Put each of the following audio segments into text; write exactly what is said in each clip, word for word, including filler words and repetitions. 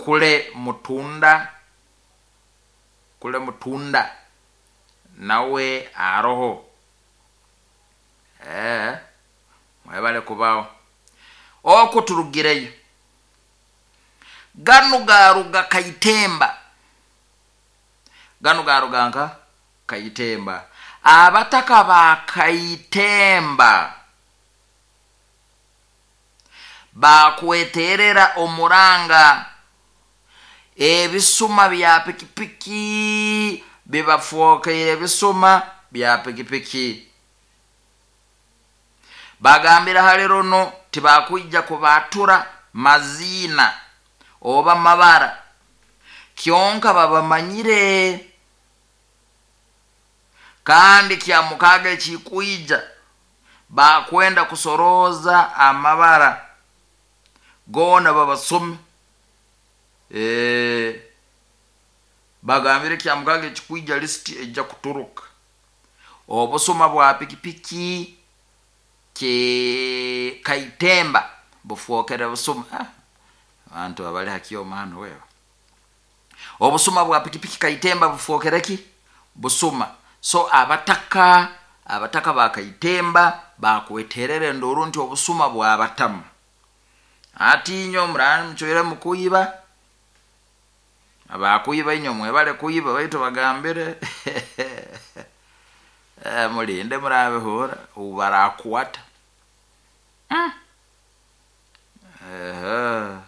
Kule Mutunda, Kule Mutunda nawe aroho. Eh, mwebale kubaho. Oko turugireyo ganu garuga Kaitemba, ganu garuga nka Kaitemba. Abataka ba Kaitemba bakweterera omuranga ebisuma bya pikipiki bibafokeire ebisuma bya pikipiki. Bagambira hali runo tibakwija kubatura mazina oba mabara, kyonka babamanyire. Kandi kya mukaga ekikwija bakwenda kusoroza amabara gona babasome. E, bagambire kya mukaga ekikwija lisiti ejja kuturuka obusuma bwa pikipiki ke Kaitemba bufokere busuma. Ah, abantu abali hakioma hano wewe. Obusuma bwa pikipiki Kaitemba bufokere ki busuma. So abataka abataka ba Kaitemba bakweterere nduru nti obusuma bwa batamu. Ati inyo murani mchwere mukuiba, abakuiba inyo mwebale kuiba baitu bagambire eh, mulinde murabihura ubarakwata. Mm. Eh.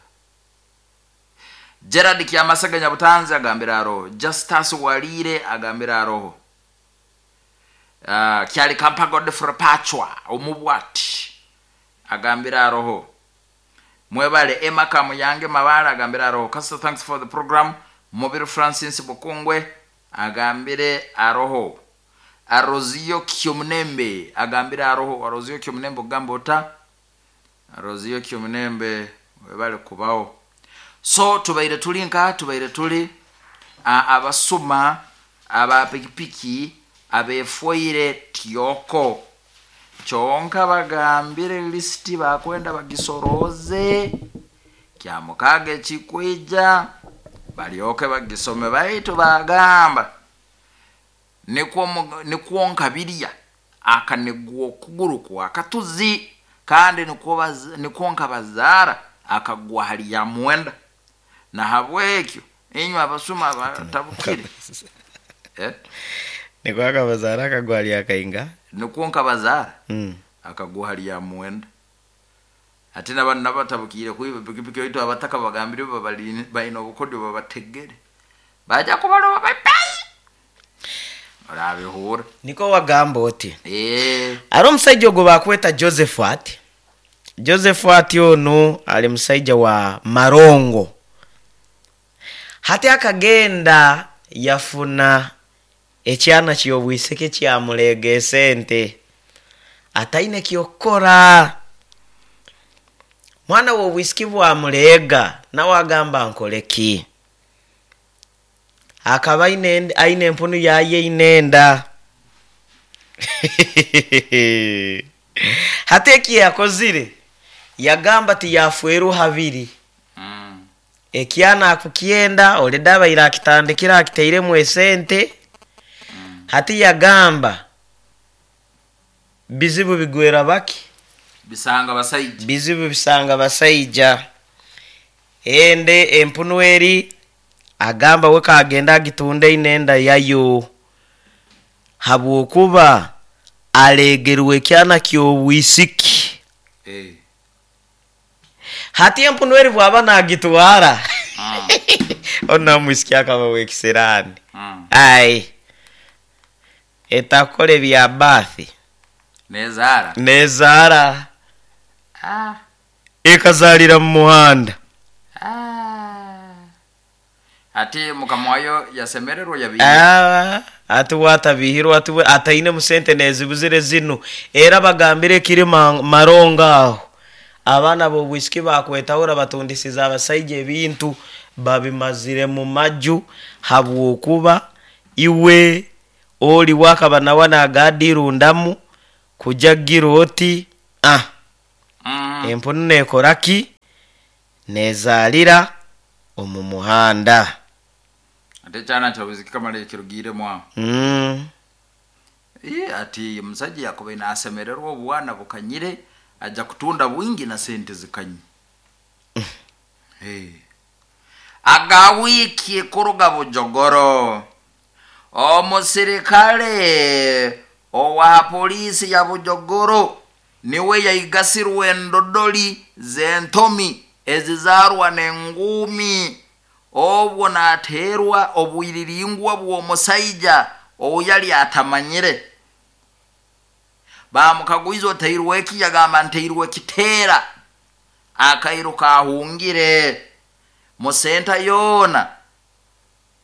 Gerard Kiamasaga Nyabutanzi agambira aroho. Justus Walire agambira aroho. Uh, Kyali Kampa Godfrey Pachwa omubwati agambira aroho. Mwebale Emma Kamuyange Mabala agambira aroho. Pastor, thanks for the program. Mubiru Francis Bukungwe agambire aroho. Arozio Kyomnembe agambira aroho. Arozio Kyomnembe ogamba ota? Arozio Kyomnembe webale kubao. So tubaire tuli nka tubaire tuli abasuma aba pikipiki abefoire tyoko. Kyonka bagambire listi bakwenda bagisoroze kya mukage kikwija balyoke bagisome. Baitu bagamba nikwo nikwo nkabirya akanegwa okuguru kwa katuzi kandi nikwo nikwo nkabazara akagwa hali ya mwenda. Na habwekyo inywe abasuma batabukire eh nikwo akabazara akagwa hali akainga nikwo nkabazara mm. akagwa hali ya mwenda. Ate n'abantu nabatabukire kuiba pikipiki oitu abataka bagambire babali baina obukodyo babategere baja kubaloba baipai orabihura. Niko wagamba oti eh ari omusajja ogwo bakweta Josephat. Josephat ono ali musajja wa Marongo. Hati akagenda yafuna ekyana ky'obwiseke kyamulega esente ataine kyokora. Mwana w'obwisiki bwamulega nawe agamba nkoleki. Akaba aine aine empunu yaye inenda. Hati eki yakozire yagamba ti yafweru habiri. Mm. Ekyana akukyenda oleda abaire akitandikira akiteiremu esente. Mm. Hati yagamba bizibu bigwera baki bisanga basaija bizibu bisanga basaija. Ende empunu eri agamba we kagenda agitunde inenda yayo habwokuba alegerwe kyana ky'obwisiki. Eh. Hati empunu eri bwaba nagitwara mm. ona mwisiki akaba wekisirani. Mm. Ai etakole bya bathi nezara nezara ah. Ekazalira mu muhanda. Ah. Ati mukamwayo yasemererwa yabiye. Ah, ati watabihirwa ati ataine musente nezibuzire zinu era bagambire kiri maronga aho. Abaana b'obwisiki bakwetahura batundisiza abasaija ebintu babimazire mu maju habwokuba iwe oli wakaba nawe nagadirundamu kujagira oti ah mm. Empunu nekoraki nezalira Omu muhanda. Ate ekyana kyabuziki kamala ekirugiremu aho. Mm. Ii, ati omusajja yakubaire nasemererwa obwana bukanyire, ajja kutunda bwingi na sente zikanye. Hey. Aga wiiki kuruga Bujogoro, omusirikale owa poliisi ya Bujogoro niwe yaigasirwe endodoli z'entomi ezizaarwa n'enguumi, obwo nateerwa obwiriringwa bw'omusaija ou yali atamanyire. Bamukagwiza, "Oteirwe eki?" Yagamba, "Nteirwe kiteera." Akairuka ahungire musenta yoona.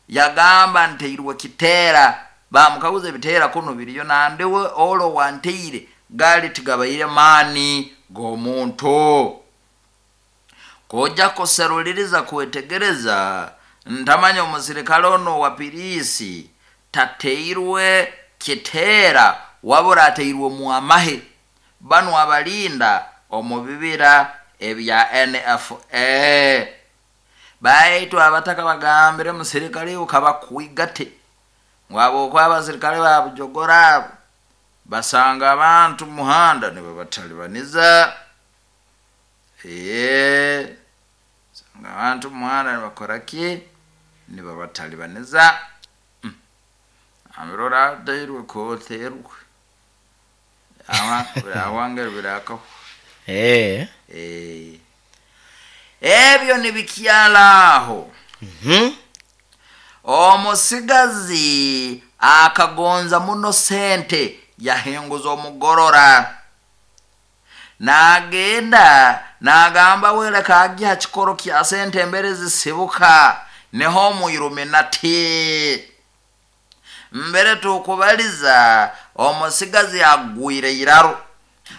Yagamba, "Nteirwe kiteera." Bamukaguza, "Ebiteera kuno biriyo nandiwe olo wanteire gaali tigabaire maani g'omuntu." Kojja kuseruliriza kwetegereza, ntamanya omusirikale ono wa piriisi tateirwe kiteera, wabura ateirwe mu amahe banu abalinda omu bibira ebya N F A. Baitu abataka bagambire musirikale ukabakwigate ngwabo okwa abasirikale ba Bujogora abo basanga abantu muhanda nibabatalibaniza. Ee, sanga abantu muhanda nibakora ki? Nibabatalibaniza. mm. Ambirora ateirwe koterwe awange birakaho. Eh. Eh. Ebyo nibikyala aho. Mhm. Omusigazi akagonza muno sente, yahenguza omugorora, nagenda nagamba wereka agya kikoro kya sente embere zisibuka niho omuiluminati. Mbere tukubaliza omusigazi agwire iraro,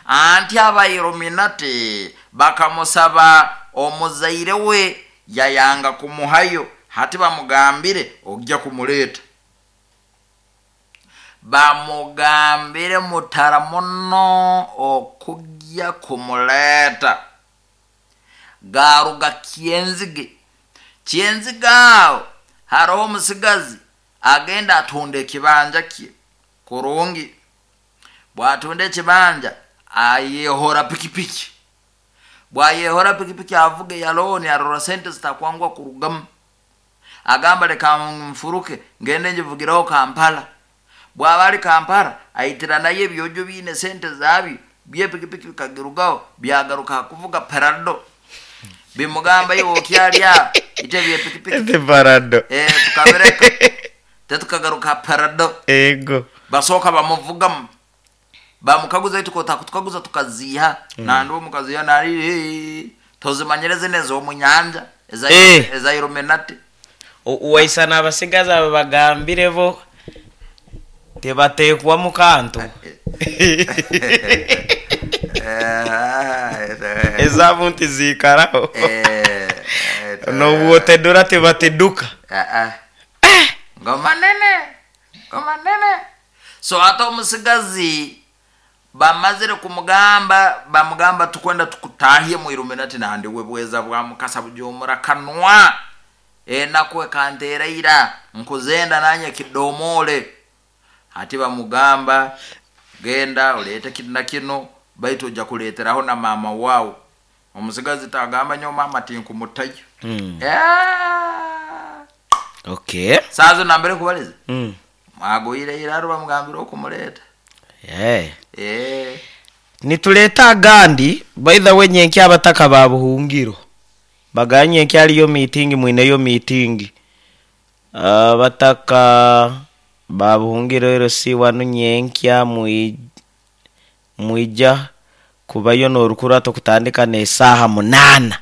anti abailuminati bakamusaba omuzaire we yayanga kumuhayo. Hati bamugambire ojja kumuleeta, bamugambire mutara muno okujja kumuleeta. Garuga Kyenzige. Kyenzige aho hariho omusigazi agenda atunda ekibanja kye kurungi. Bwatunda ekibanja ayehora pikipiki. Bwayehora pikipiki avuga yaloni, arora sente zitakwangwa kurugamu. Agamba, "Leka nfuruke ngende njivugireho Kampala." Bwaba ali Kampala aitira nayo ebyojo biine sente zabyo byepikipiki bikagirugaho, byagaruka kuvuga Prado. Bimugamba, "Iwe okyali aho ite byepikipiki." Ete Prado. Eh, tukabireka tetukagaruka Prado. Ego. Basooka bamuvugamu, bamukaguza, "Itu tukaguza tukaziha mm. Nandi omukaziha nali tozimanyire zine ez'omunyanja eza Eh. eza Illuminati. Waisana abasigazi abo bagambire bo tebateekwa mu kantu, ezaabo ntiziikaraho, nobwotedura tebateduka. Ngoma nene, ngoma nene. So ate omusigazi bamazire kumugamba, bamugamba, "Tukwenda tukutahye mu Illuminati." Nandi we bweza bwa mukasa bujomura kanwa, enaku ekanteera nkuzenda nanye kidomole. Hati bamugamba, "Genda oleete kino na kino, baitu ojja kuleeteraho na maama waawe." Omusigazi tagamba nyo maama tinkumutayo. Mm. Yeah. Okay. Saazo nambere kubaliza Mm. mwagwire iraro, bamugambira okumuleeta. Yeah. Eh. Nituleeta agandi. By the way, nyenki abataka ba Buhungiro baganye nyenki aliyo meeting, mwineyo meeting abataka ba Buhungiro ero si wanu nyenkya mwi- mwija kubayo n'orukurato kutandika n'esaaha munaana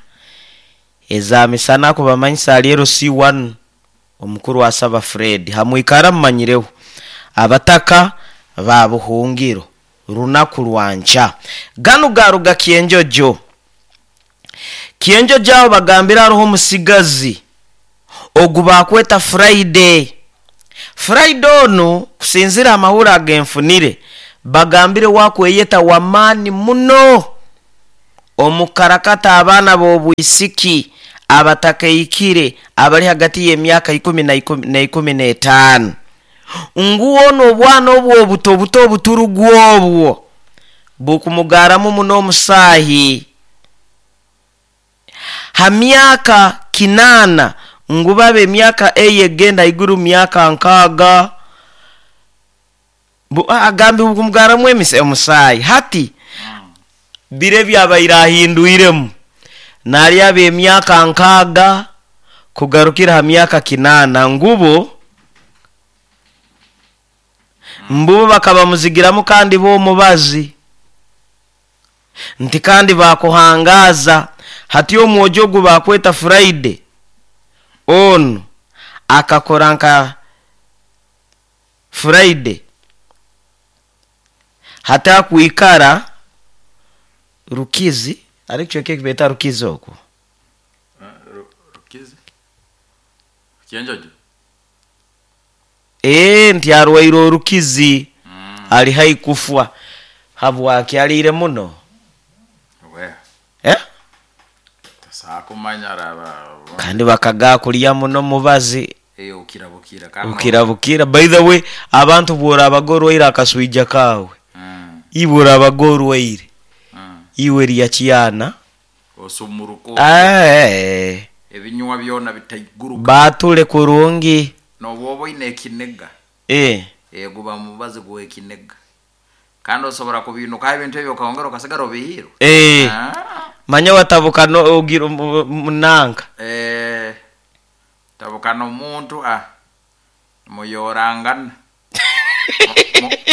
eza misana kubamanyisa ali ero si wanu omukuru asaba Fred hamwikara mumanyireho abataka ba Buhungiro runaku lwanca. Ganu garuga Kyenjojo. Kyenjojo aho bagambira hariho omusigazi ogu bakweta Friday. Friday onu kusinzira amahuri agenfunire, bagambire wakweyeta wamaani muno omukarakata abaana b'obwisiki. Abatakaikire abali hagati y'emyaka ikumi na ikumi na ikumi n'etaano nguwono obwana obwo obuto obuto obuturugu obwo bukumugaramu muno omusaahi ha myaka kinaana ngu babe emyaka eyo egenda iguru myaka nkaaga. Bu- agambi bukumugaramu emise omusaahi hati bire byabaire ahindwiremu nali aba emyaka nkaaga kugarukira ha myaka kinaana ngubo mbubo bakabamuzigiramu kandi b'omubazi nti kandi bakuhangaza hati omwojo ogu bakweta Friday onu akakora nka Friday hati akwikara Rukizi ari kicweka ekibeta Rukizi okwo. Rukizi Kyenjojo. Ee, nti arwaire orukizi ali hai kufwa habwaki aliire muno. We eh? Tasakumanya raba. Kandi bakagaa kulya muno mubazi. Eyo ukirabukira kandi ukirabukira. By the way, abantu bworabaga orwaire akaswija kawe, Mm, iwe orabaga orwaire, mm. iwe lya kyana Osumuruko. Eh, ebinywa byona bitaiguruka. Batule kurungi. Nobwoba oine ekiniga, eh. eh, guba mubazi guwa ekiniga kandi osobora kubinukaho ebintu ebyo okahongera okasigara obihirwe. Eh. Ah. Manya watabuka no ogira munanka. Eh, tabukana omuntu ah muyorangana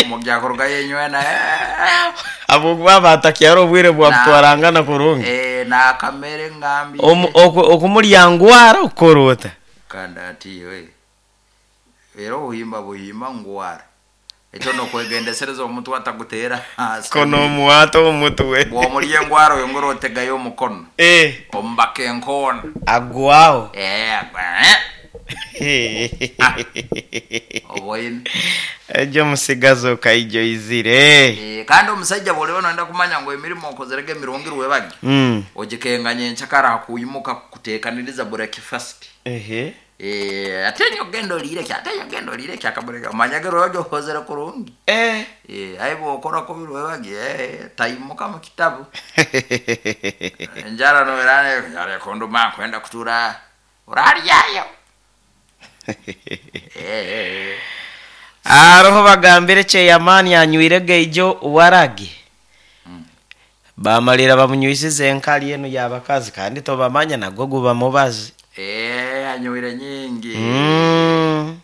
mugyakuruga yenywena eh, Abukuba batakyara obwire bwa Na- kutwarangana kurungi. eh, nakamere ngambi. Omu- oku- okumulyangwara okukorota. Kandi ati we era obuhimba buhimba ngwara ekyo nokwegendesereza omuntu ataguteera hasi. Kono omuwato omutwe. Bwomulya engwara oyongera otegayo omukono. Eh. Omubaka enkoona. Agwaho. Eh, eh, oboine. Ejo musigazi okaijoizire. Eh, kandi omusajja bwoliba noyenda kumanya ngu emirimu okozerege emirungi rwebagi, Mm. ogikenganya enkyakara hakuyimuka kuteekaniriza breakfast. Ehe. Eh, ate nyo ogenda oliire ki, ate nyo ogenda oliire ki akabureka omanyage rwebagi okozere kurungi. Eh. Eh, aye bwokora kubi rwebagi, eh, tayimuka mu kitabu enjara noerane njara ekunduma kwenda kutura oraryayo. Eh, eh, eh. Aroho bagambire cheyamani anywire geijo waragi bamalira bamunywisize enkali eno yabakazi kandi tobamanya nagwo guba mubazi. Eh, anywire nyingi. Mm.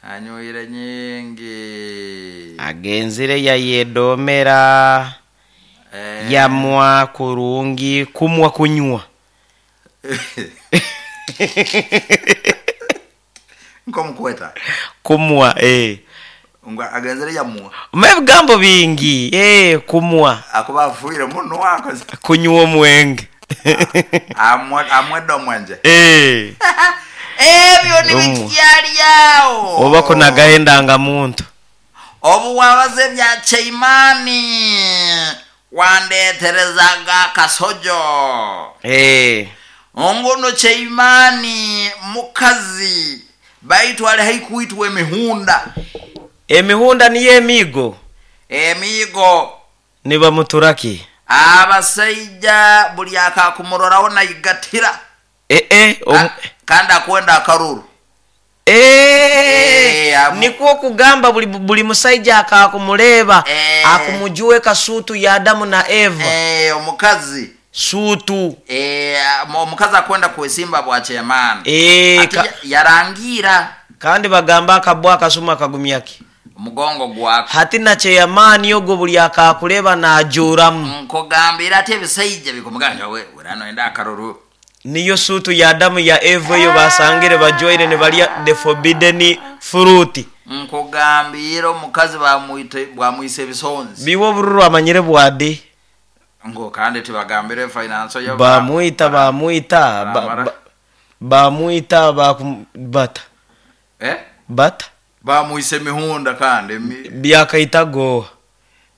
Anywire nyingi. Agenzire yayedomera. Eh. Yamwa kurungi kumwa kunywa. Nkomukweta. Kumwa eh. Nga agenzere yamwa. Ebigambo bingi eh, kumwa. Akuba afuire muno akoze. Kunywa omwenge. Amwe amwedde omwenje. Eh. Ebyo Omwa. nibikyalyawo. Oba kunagahendanga muntu. Obuwabaze bya Cheimani wandeeterezaga akasojo. Eh. Ongono Cheimani mukazi baitu ali haikuitwa emihunda. Emihunda niyo emigo. Emigo. Nibamuturaki. Abasajja buli akakumuroraho nayigatira. Eh eh. Om... Ka- kandi akwenda akaruru. Eh, Eh, amu- nikwo kugamba buli, buli musajja akakumureba Eh. akumujue kasutu ya Adamu na Eva. Eh, omukazi. Sutu. Eh, omukazi akwenda kwesimba bwa chairman. Eh, Ati ka- ya- yarangira kandi bagamba akabwa akasuma akagumyaki omugongo gwako. hati na cheyamani ogwo buli akakureba najuramu. Nkugambira ati ebisajja bikumuganja we urano enda akaruru. Niyo sutu ya Adamu ya Eva eyo basangire bajoire ne balya the forbidden fruit. Nkugambira omukazi bamwite bwamwise ebisonzi. Biwo obururu amanyire bwade. Ngo kandi tibagambire finance yo Bamwita bamwita ba- Bamara. ba- bamwita bakum- bata Eh? bata Bamwise mihunda kandi mi, byakaita goa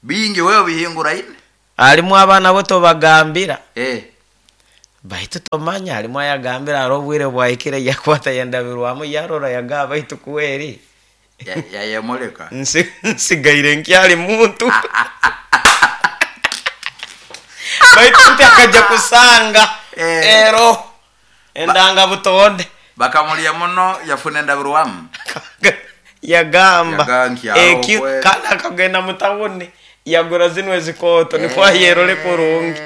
bingi wewe bihingura ine. alimu abaana bo tobagambira. Eh. Baitu tomanya halimu ayagambira haro obwire bwahikire yakwata yendabirwamu yarora yagaba baitu kweri Yayemuleka. Nsi- nsigaire nkyali muntu. Baitu nti akajja kusanga Eh. ero endanga butonde. Bakamulya muno yafuna endabirwamu. Yagamba Yagamba nti ekyo awo kwe- kandi akagenda mutawuni yagura zino ezikooto nikwo ayerole kurungi.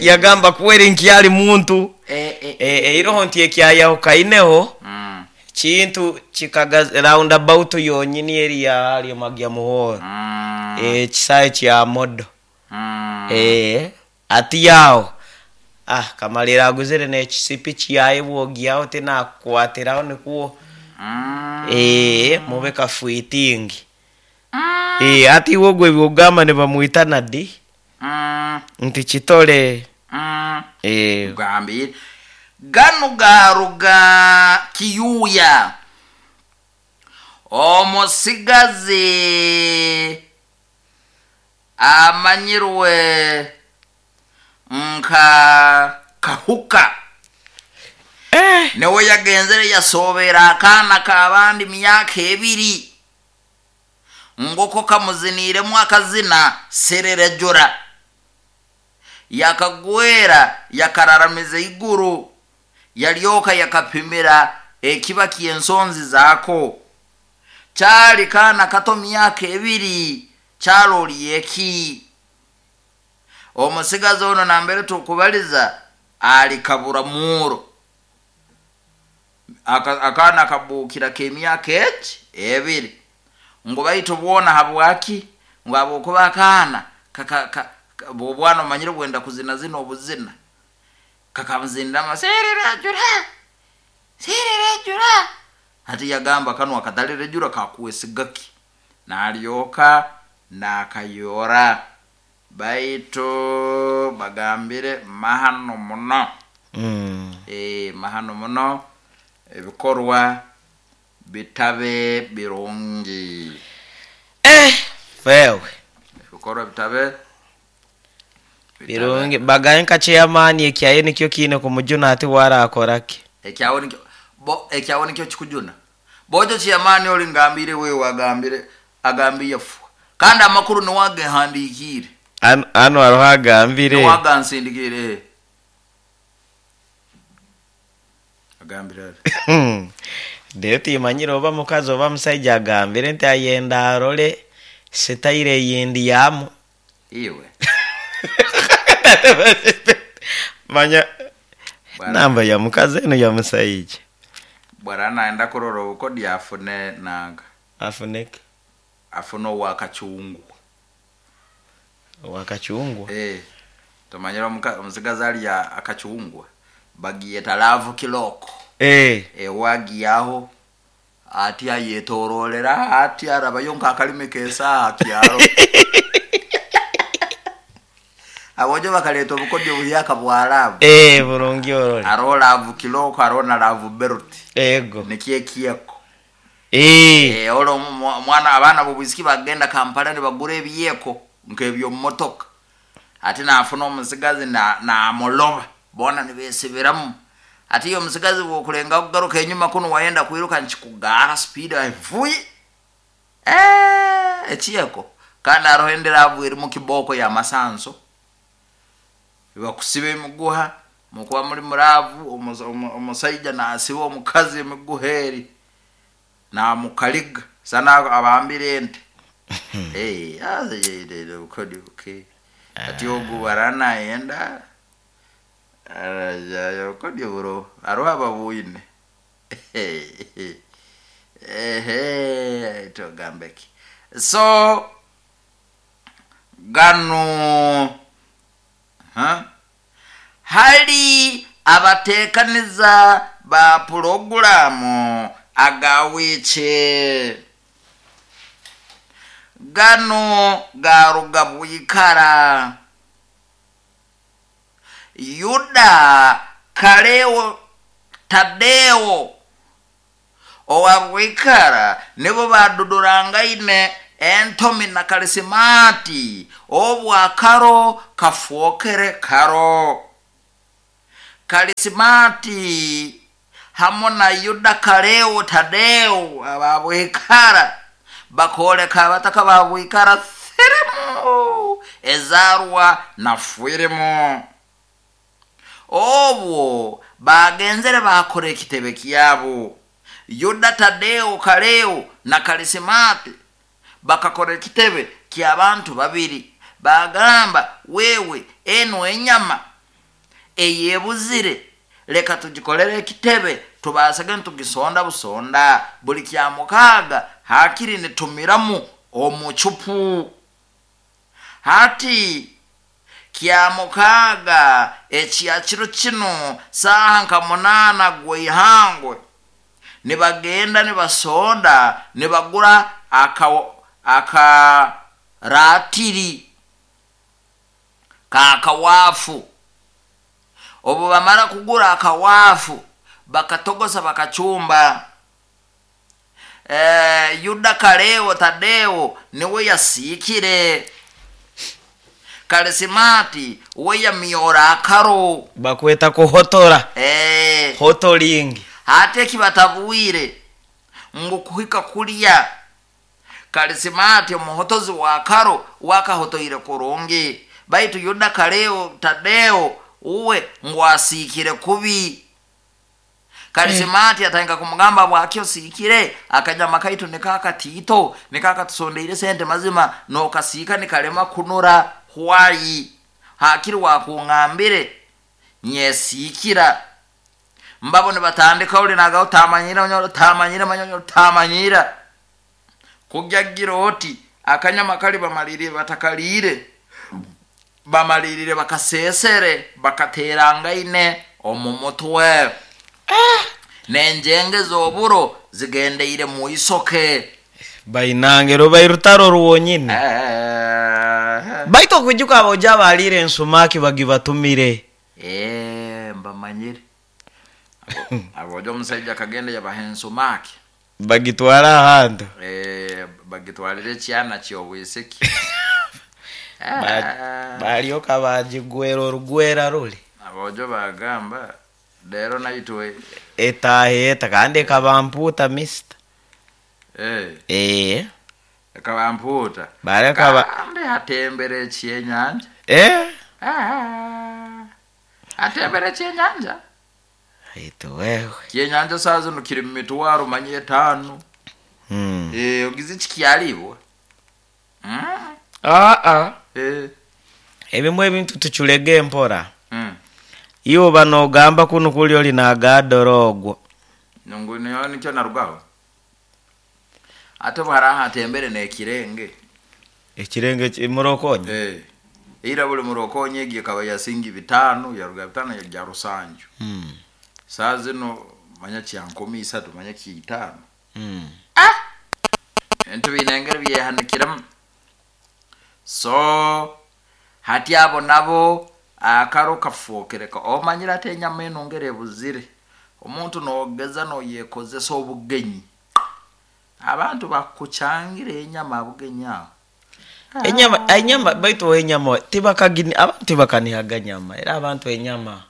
Yagamba kweri nkyali muntu. Eh, eh, Eh, eiroho nti ekyayahukaineho Mm, kintu kikaga roundabout yonyini eri yali magya muhoro. mm, Ekisae kya modo. mm. Eh, ati yawo ah kamalira aguzire n'ekisipi kyaye bwogyaho tinakukwatiraho nikuwo. Mm. Eh, mube kafuitingi. Eh, ati iwe gwe byogamba ne bamwita nadi Mm, nti kitole. mm. Eh, Gambire gano garuga kiyuya omusigazi amanyirwe nka kahuka. Eh. Niwe yagenzere yasobera akaana k'abandi myaka ebiri ngoko kamuziniremu akazina sererejura yakagwera yakararamiza iguru yalyoka yakapimira ekiba ky'ensonzi zaako. Kyali kaana kato myaka ebiri kyaloliye eki. Omusigazi ono nambere tukubaliza ali kabura muuro. Aka- akaana kabuukira k'emyaka eki ebiri ngu baitu bwona habwaki ngu habwokuba akaana kaka- ka- ka- bwobwana omanyire bwenda kuzina zina obuzina kakamuzinirama seererejura seererejura hati yagamba kano akatalirejura kakuwesigaki nalyoka nakayora baitu bagambire mahano muno. Mm. Eh, mahano muno ebikorwa bitabe birungi. Eh, fewe Ebikorwa bitabe bitabe- birungi bagaye nka chairman ekyaye nikyo kiine kumujuna ati warakoraki. Ekyawo nikyo bo ekyawo nikyo kikujuna bojo chairman oli ngambire wewe agambire agambiye fu kandi amakuru niwagehandiikire. Ano ano hariho agambire. Niwagansindikire agambire ati Rero timanyire oba mukazi oba musaija agambire nti ayenda arole sitaire eyindi yamu. Iwe. Manya Bwana. namba ya mukazi eno ya musaija. Bwana naenda kurora obukodi afune nanga. Afuneke. Afune owakachungwa. Wakachungwa. Eh, tumanyire omuka- omusigazi alya akachungwa bagiyeta laavu kiloko. Eh. Ewagiyaho ati ayetorolera ati arabayo nkakalimi kesaha kyaro abojo bakaleta obukodyo buhyaka bwa laavu. Eh, burungi orole. Aroho laavu kiloko aroho na laavu berut. Ego. Nikyekiyeko. Eh. Eh, olwo omu- omwana abaana bobwisiki bagenda Kampala nibagura ebiyeko nk'ebyomumotoka ati nafuna omusigazi na- namuloba bona nibesibiramu ati iyo omusigazi bwokulenga kugaruka enyuma kuno wayenda kwiruka nkikugara speed avuye. Eh, ekiyeko kandi aroho endiravu eri mu kiboko ya masanso bakusiba emiguha mukuba muri muravu omusa- omu- omusaija nasiba omukazi emiguha eri namukaliga sana abambire ente. Eh, aza yeyire ukodi uke ati ogu baranayenda arajayo ukodi buro aroho ababuyine ehe togambeki so gano huh? Hali abateekaniza ba pulogulaamu agawiiki gano garuga bwikara Yuda Kaleo Tadeo owa bwikara nibo badudurangaine entomi na kalisimati obwakaro kafuokere karo. Kalisimati hamwe na Yuda Kaleo Tadeo ababwikara bakoleka abataka babwikara firimu ezarwa na firimu. Obwo bagenzere bakora ekitebe kyabo. Yuda Tadeo Kaleo na Kalisimati bakakora ekitebe ky'abantu babiri, bagamba wewe eno enyama eyebuzire leka tugikolere ekitebe tubasage nitugisonda busonda buli kya mukaaga hakiri nitumiramu omucupu. Hati kya mukaaga ekya kiro kino saaha nka munaana gweihangwe nibagenda nibasonda nibagura aka akaratiri kakawafu. Obu bamara kugura akawafu bakatogosa bakachumba. Eh, Yuda Kaleo Tadeo niwe yasikire. Kalisimati we yamyora akaro bakweta kuhotora. Eh, hotolingi ate kibatabwire ngu kuhika kulya. Kalisimati omuhotozi wa karo wakahotoire kurungi, baitu Yuda Kaleo Tadeo uwe ngu asikire kubi. Kalisimati atanga kumugamba bwakyo sikire akanyama kaitu nikakatito nikakatusondeire sente mazima nokasika nikalema kunura hwayi hakiri wakungambire nyesikira. Mbabo nibatandika uli nagaho tamanyira nyoro tamanyira manyoro tamanyira kujyagira oti akanyama kali bamalirire batakalire bamalirire bakasesere bakaterangaine omumutwe. Ah, nenjenge zoburo zigendeire mu isoke bainangero bairutaro ruwonyine. Eh, baito kujuka aboja balire ensumaki bagibatumire. Eh, mbamanyire aboja omusajja kagenda yabaha ensumaki bagitwara ahantu. Eh, bagitwalire ekyana ky'obwisiki. Ba- balyoka bagigwera orugwera ruli. Abojo bagamba lero naitwe etaheta kandi ekabamputa mister. Eh, eh ekabamputa baleka ba kandi hatembere ekyenyanja. Eh, Ah, hatembere ekyenyanja. aitu wewe Kyenyanja saa zino kiri mu mitwaro manyi etaano. hmm. Eh, ogize kikyalibwa. Mm. ah ah Eh. ebimu ebintu tuculege empora. Mm. Iwe banogamba kuno kuli oli nagadorogwo Nungu niyo nikyo narugaho. Ate bwara hatembere nekirenge. ekirenge murokonye. Eh. Ira buli murokonye egiye kaba yasingi bitano yaruga bitano ya rusanju. hmm. Saa zino manya kya nkumi isatu manya kiitano. hmm. Ah! Entu binengere byehanikiramu. So hati abo nabo akaro kafuokereka omanyira ate enyama eno ngere ebuzire omuntu nogeza noyekozesa obugenyi abantu bakucyangira enyama bugenyi aho enyama enyama baitu enyama tibakagini abantu tibakanihaga nyama era abantu enyama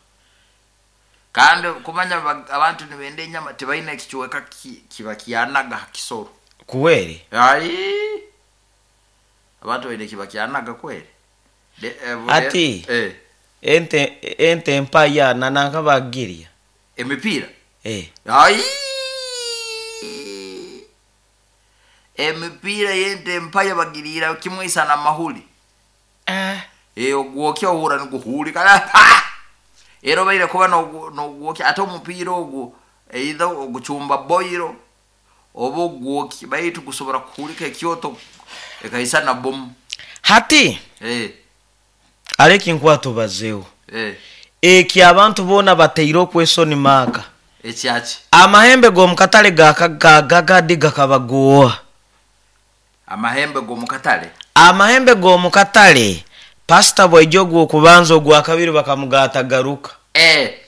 kandi kumanya abantu nibenda enyama tibaine ekichweka kiba kyanaga kisoro kuwere ai abantu baine kiba kyanaga kwere ati eh ente ente empaya nananka bagiria emipira eh ai emipira yente empaya bagirira kimwisa na mahuli eh eh ogwokya ohura niguhuli kala ah! Ero baire kuba nogwokya ate omupiira ogwo either oguchumba boiro oba ogwokya baitu gusobora kuhulika ekyoto ekaisa na bomu hati eh aleki nkwatubazeho eh eki abantu bona bateire okwesoni maka ekyaki amahembe g'omukatale gakagagadi gakabagowa amahembe g'omukatale amahembe g'omukatale pasita bwaija ogw'okubanza ogwakabiri bakamugatagaruka eh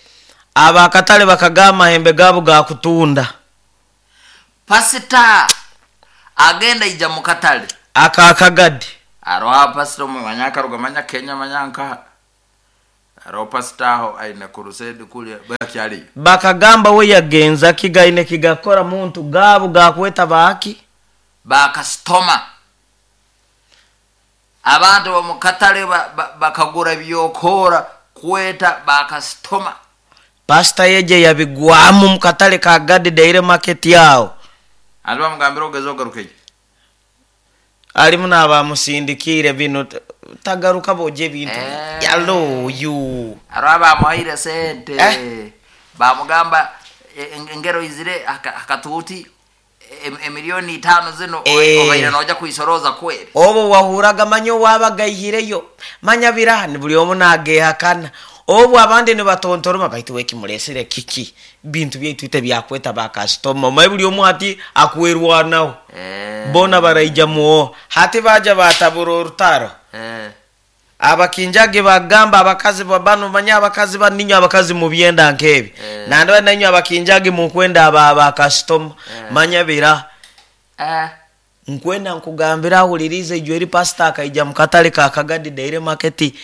abakatale bakaga amahembe gaabo gakutunda pasita agenda ija mukatale akakagadi aroha pasita omwe manya akaruga manya Kenya manya nkaha Aroho pasita aho aine crusade kulya bakyaliyo. Bakagamba we yagenza kigaine kigakora muntu gaabo gakweta baaki. Bakasitoma abantu bomukatale bakagura byokora kweta bakasitoma. Pasita yeje yabigwamu mukatale ka Gadi Daire Market yao. Ati bamugambira ogeze ogarukeyo. Alimu n'abamusindikire bino tagaruka boje ebintu. Eh. Yalo yu. Aro bamuhaire sente. Eh. Bamugamba engero izire akatuti emiliyoni itano zino eh. Obaire noja kuisoroza kweri. Obo wahuraga manyo wabagayihireyo. Manya birani buli omu nagehakana. Obu abandi nibatontoroma baitu wekimulesere kiki bintu byaitu ite byakweta bakasitoma omaye buli omu hati akwerwanaho. Eh. Bona baraija muo hati baja batabura orutaro. Eh. Abakinjage bagamba abakazi babano manya abakazi baninyo abakazi mu byenda nkebi. Eh. Nando nanyo abakinjage mu kwenda aba bakasitoma. Eh. Manya bira. Eh. Nkwenda nkugambira ahulirize ijwe eri pastor akaija mukatale ka Kagadi Daire Market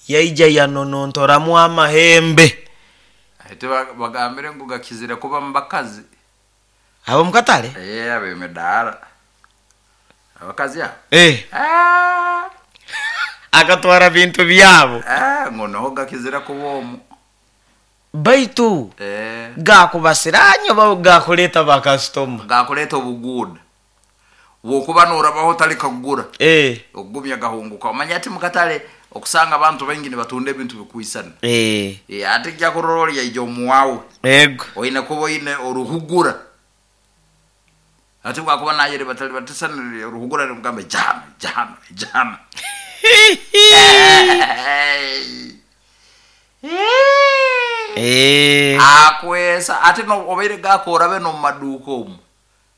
yaija yanonontoramu amahembe. Ate bagambire ngu gakizire kuba mubakazi. Abo mukatale? Eh, abemedara. Abakazi abo? Eh. Ah. Akatwara bintu byabo. Ah, ngono gakizira kuba omu. Baitu. Eh. Gakubasiranyo ba gakuleta bakastoma. Gakuleta obuguda. Wokuba norabaho tali kagura. Eh. Ogumya gahunguka. Omanya ati mukatale okusanga abantu baingi nibatunda ebintu bikwisana. Eh. Eh, ate kya kurorya ijo muwawe. Ego. Oine kuba oine oruhugura. Ate bwakuba naye batali batisana oruhugura nimugambe jana jana jana. Eh. Akwesa ate no obeire gakora be no maduko omu.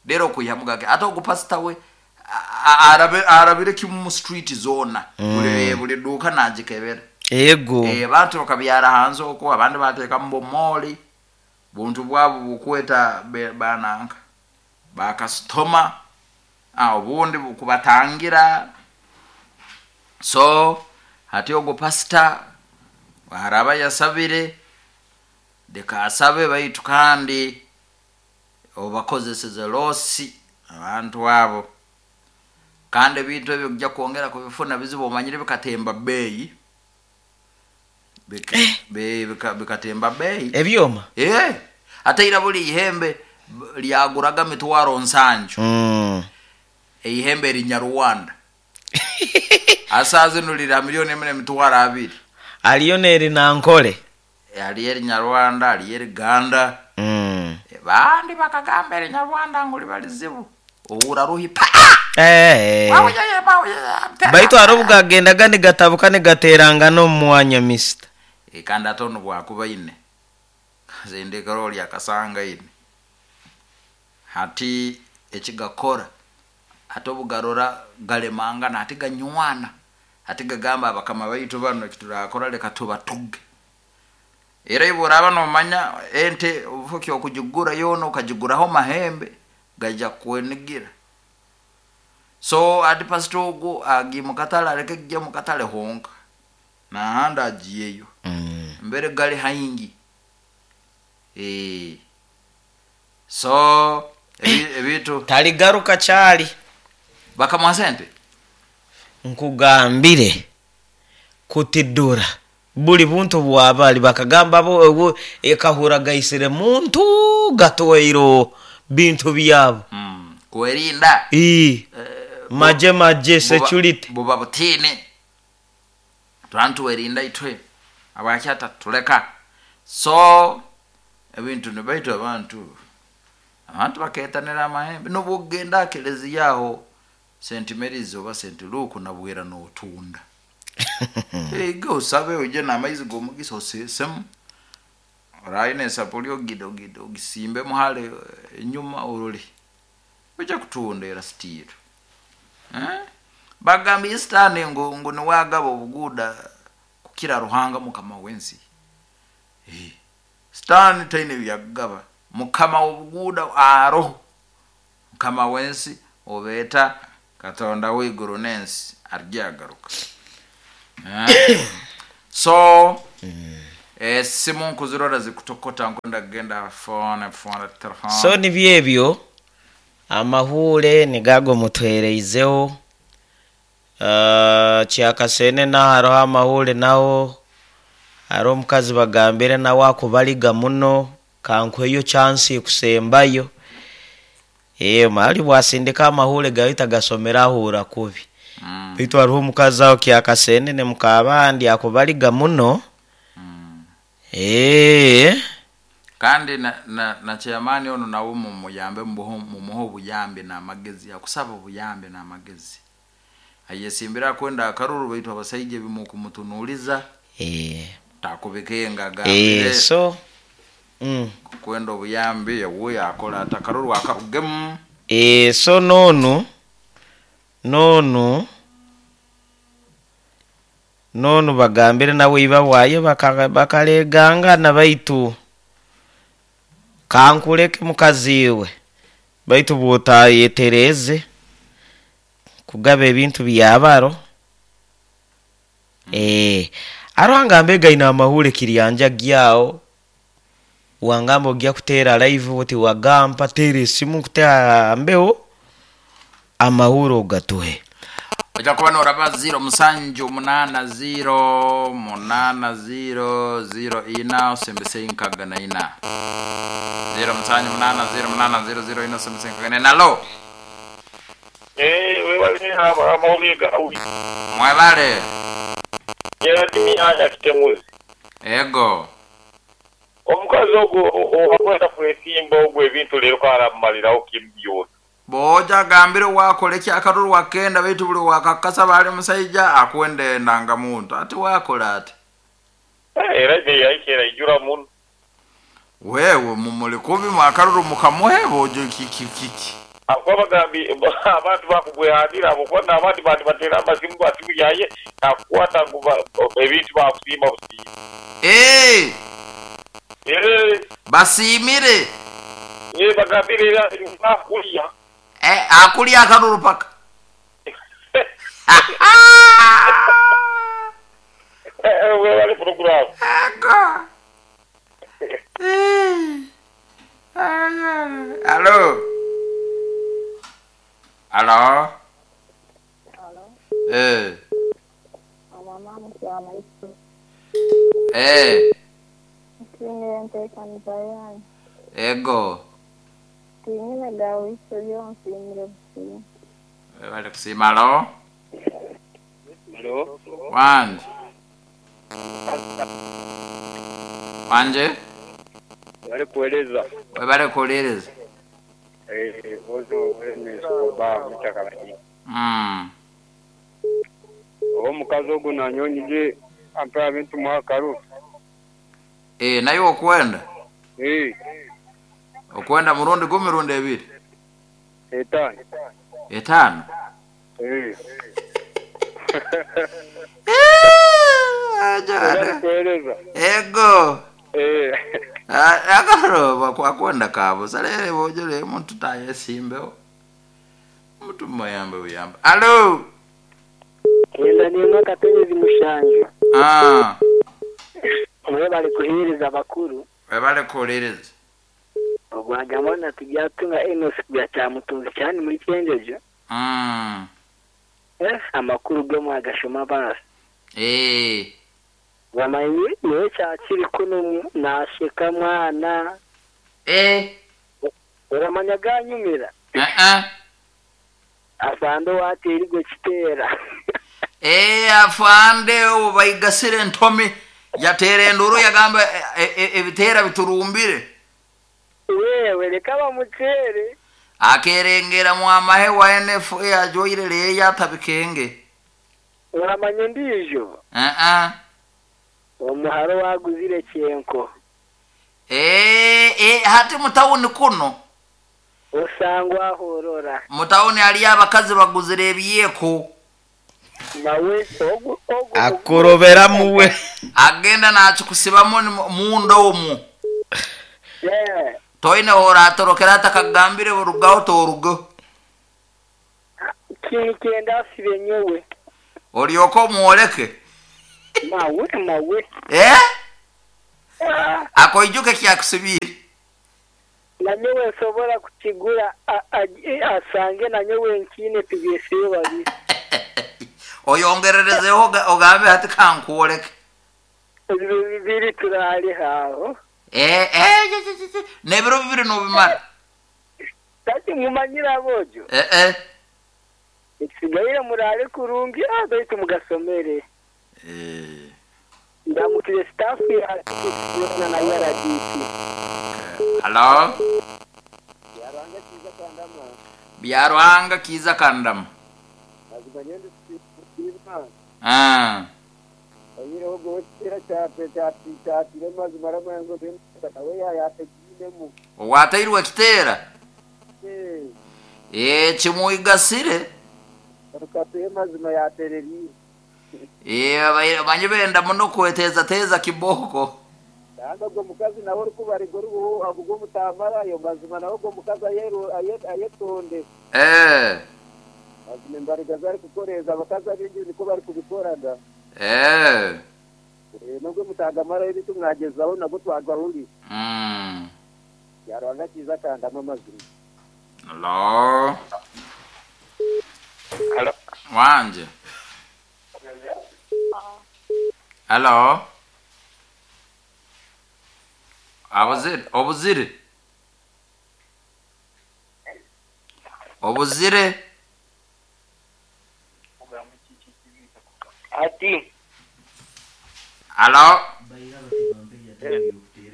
Lero kuyamugake ate ogupasita we arabe arabire kimu street zona. Mm. Buli buli duka najikebera. Ego. Eh, abantu bakabyara hanze uko abandi bateka mbo moli. Buntu bwabo bukweta bananka. Bakastoma ah ubundi bukubatangira. So hati ogo pastor araba yasabire deka asabe baitu kandi obakozeseze losi abantu abo. Kandi ebintu ebyo kujja kwongera kubifuna bizibu omanyire bikatemba beeyi. Bika, eh. Be, bika, bikatemba beeyi. Ebyoma? Eh. Ate era buli ihembe lyaguraga mitwaro nsanju. Mm. Eihembe erinyarwanda. Asaze nulira milioni emwe mitwaro abiri. Aliyo neri nankole. E, aliyo erinyarwanda, aliyo eriganda. Mm. E, bandi bakagamba erinyarwanda nguli balizibu. Ohura ruhi pa. Eh. Baitu arobuga agendaga nigatabuka nigateranga no mwanya mister. E, kandi atono bwakuba ine. Zendekero lya kasanga ine. Hati ekigakora atobugarora galemanga na hati ganywana. Hati gagamba abakama baitu bano ekiturakora leka tubatuge. Era iboraba no manya ente ufuki okujugura yono ukajuguraho mahembe gaja kwenigira. So ati pastor ogu agi mukatale aleke kujja mukatale honka. Na handa agiyeyo. Mm. Mbere gali haingi. Eh. So ebitu taligaruka chali. Bakamuha sente? Nkugambire kutidura buli buntu bwabali bakagamba bo ekahura gaisire muntu gatoiro bintu byabo. Mm. Kwerinda. Eh. Maje maje security buba butini. Twantu werinda itwe. Abakyata tuleka. So ebintu nibaitu abantu. Abantu baketanira amahembe nobugenda keleziyaho Saint Mary's oba Saint Luke nabwera n'otunda. Ego usabe uje n'amaizi g'omugisa osesemu. Oraine esapuli ogido gido ogisimbe muhale enyuma orole. Uje kutunda era sitiro. Eh? Bagamba Eastern ngo ngo niwagaba obuguda kukira Ruhanga mukama wensi. Eh. Stan taine byagaba mukama obuguda aro. Mukama wensi obeta Katonda w'iguru n'ensi aryagaruka. Eh? So Esimu nkuzirora zikutokota, nkwenda kugenda phone phone telefone. So nibyo ebyo amahure nigago mutwereizeho. uh, kyakasene naho hariho amahure, naho hariho omukazi bagambire nawe akubaliga muno, kankweyo chance kusembayo. Eh, mali bwasindika amahure gahita gasomera ahura kubi. Mm. Baitu hariho omukazi aho kyakasene ne mukabandi akubaliga muno. Mm. Eh, kandi na, na, na chairman ono nawe mumuyambe, mumuhe obuyambi n'amagezi, akusaba obuyambi n'amagezi, ayesimbira kwenda akaruru, baitu abasaija bimukumutunuliza eh takubikenga eh gambire so mm. kwenda obuyambi yawuyo akola ati akaruru akarugemu. Eh, so nonu nonu nonu bagambire nawe iba bwaye baka- bakalegangana, baitu kankuleke mukaziwe, baitu bwotayetereze kugaba ebintu byabaro. Eh, aro mbega ina amahure kiryanja gyawo wangamba ogya kuteera live oti wagampa teera esimu nkutera mbeho amahure ogatuhe. Ojja kuba noraba ziro musanju munana ziro munana ziro ziro ina osembese inkaga na ina ziro musanju munana ziro munana ziro ziro ina osembese inkaga na ina. Lo Eh, webale amawulire gawe. Mwebale. Gerard Miyanya Kitemuzi. Ego. Omukazi ogwo owakwenda kwesimba ogwo ebintu leero karamumalirawo kimu byona. Boja agambire wakola ekyakaruru wakenda, baitu buli wakakasa bali musaija akwenda enanga muntu ati wakola ati. Eh, era neyayikera ijura muno. Wewe mumuli kubi mwakaruru mukamuhe bojo kiki kiki. Akuba bagambi abantu bakugwehandira abo kuba n'abandi bantu batera amasimu bati yaye nakukwata ngu ba- ebintu bakusiima busiima. Eh, Eh, basimire. eh, bagambire era bakulya. Eh, akulya akaruru paka. Eh, webale program. Ego. Eh. Alo. Alo. Alo, Eh. amama mukyama. Eh. Nsiimire enteekaniza yanyu. Ego. Tinyine gawiso byonsiimire busiima. Bali kusiima. Alo. Halo. Wanje. Wanje. Bali kueleza. Webale kuwuliriza. Eh, ozo wenesoba mutaka. Mm. Omukazi ogwo nanyonyije ampa ebintu mwakaru. Eh, naye okwenda? Eh. Okwenda murundi gumi rundi ebiri? Etano. Etano? Eh. Eh, kueleza. Ego. Eh. Akaro kwakwenda kabo salere bojole muntu tayesimbeho muntu muyambe buyambe. Alo. Kenda nimwe kapenyezi mushanju. Ah. Mwe bali kuhereza abakuru. Webale kuwuliriza. Ogwajamona tujyatunga Enos bya cyamutunzi cyane muri Cyenjeje. Mm. Eh, amakuru go mwagashoma basi. Eh. Bamanye niwe cyakiri kuno nasheka mwana. Eh. Uramanya ganyumira. Eh eh. Afande watera kitera. Eh, afande ubayigasire ntomi yatera enduru yagamba ebitera biturumbire. Wewe reka bamutere. Akerengera mu amahe wa N F A ajoyire le yatabikenge. Uramanya ndijo. Eh eh. Omuharo waguzire cyenko. Eh eh hati mutawuni kuno. Osangwa horora. Mutawuni ali abakazi baguzire ebiyeko. Nawe ogu ogu akorobera muwe agenda nakikusibamo munda omwo. Yeah. Toine hora atorokera atakagambire burugaho torugo. Kintu kyenda asibe nyowe. Olyoko omwoleke. Mawe mawe. Eh? Ah, Akoijuka kyakusubire. Nanyowe nsobora kukigura a- a- asange nanyowe nkiine tubyesibe babiri. Oyongererezeho oga- ogambe hati kankwoleke. Ebiro bibiri turale aho. Eh eh je, je, je, je. N'ebiro bibiri nobimara. Kati mumanyire abojo. Eh eh. Ekisigaire murale kurungi ah, baitu mugasomere. Eh. Ndamukire staff ya na na R D C. Hello? Byaruhanga kiza kandama. Ah. Owatairwe kitera. Eh kimuigasire. Eh abaire banye benda muno kweteza teza kiboko. Kandi ogwo mukazi nawe orikubarigwa oruhu avuga omutamara ayo mazima nawe ogwo mukazi ayeru- aye- ayetonde. Eh. Mazima embariga zarikukoreeza abakazi abingi niko barikubikoraga. Eh. Eh, nubwo mutagamarayo ebitu mwagezaho nabwo twagahuri. Mm. Yarwanga kiza kandama amazima. Hello. Hello. Wanje. Hello. Abuzire, obuzire. Obuzire. Ati Hello.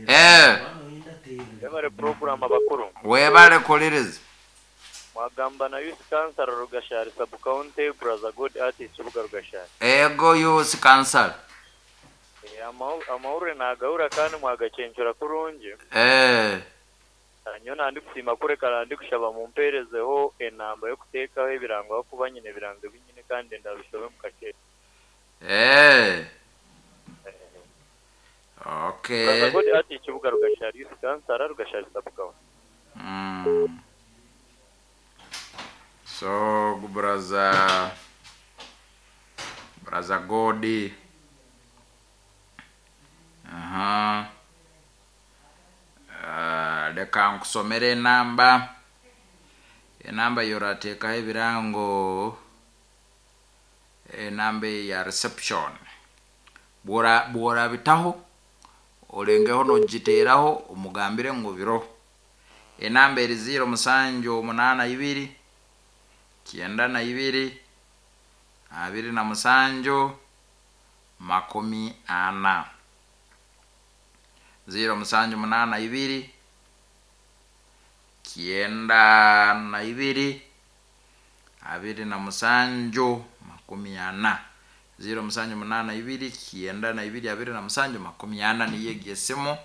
Eh, Webale program abakuru webale kuliriza. mwagamba na youth cancer Rugashari sub county brother god artist Ruga Rugashari. Ego youth cancer. Eh, amahu- amahurire nagahura kandi mwagacencura kurungi. Eh, Nyo nandi kusima kureka ndi kushaba mumperezeho enamba yo kuteekaho ebirango aho kuba nyine ebirango binyine kandi ndabishobe mukake. eh. Okay. Brother god artist Ruga Rugashari youth cancer Rugashari sub county. Mm. So, brother brother Godi. Aha. Uh, leka nkusomere enamba. Enamba yorateekaho ebirango enamba ya reception. Bwora bworabitaho olengeho nogiteeraho omugambire ngu biro. Enamba eri ziro musanju omunaana ibiri kyenda na ibiri abiri na musanju makumi ana ziro musanju munaana ibiri kyenda na ibiri abiri na musanju makumi ana ziro musanju munaana ibiri kyenda na ibiri abiri na musanju makumi ana niyo egyo esimu